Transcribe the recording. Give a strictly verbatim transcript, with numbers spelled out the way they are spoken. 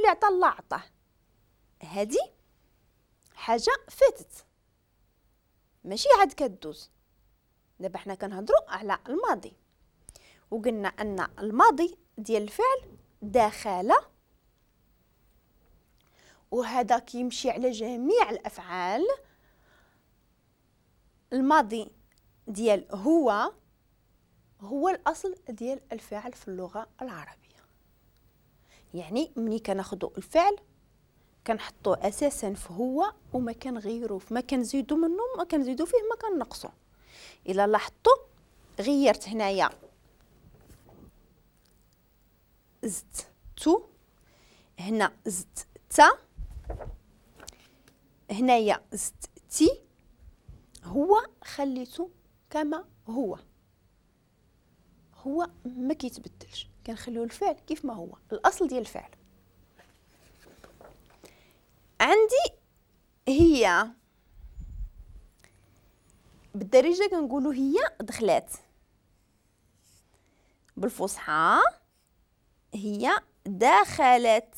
اللي عطا الله عطاه. هادي حاجة فاتت ماشي عاد كدوز. دابا حنا كنهضروا على الماضي، وقلنا ان الماضي ديال الفعل دخل، وهذا كيمشي على جميع الافعال. الماضي ديال هو هو الاصل ديال الفعل في اللغة العربية. يعني ملي كناخذوا الفعل كنحطوه اساسا في هو وما كنغيروه، ما كنزيدو منه ما كنزيدو فيه ما كنقصو. الا لاحظتوا غيرت هنايا زدت تو، هنا زدت تا، هنايا زدت تي، هو خليته كما هو، هو ما كيتبدلش، كنخليو الفعل كيف ما هو الاصل ديال الفعل. عندي هي بالدارجة كنقولوا هي دخلات، بالفصحى هي دخلت.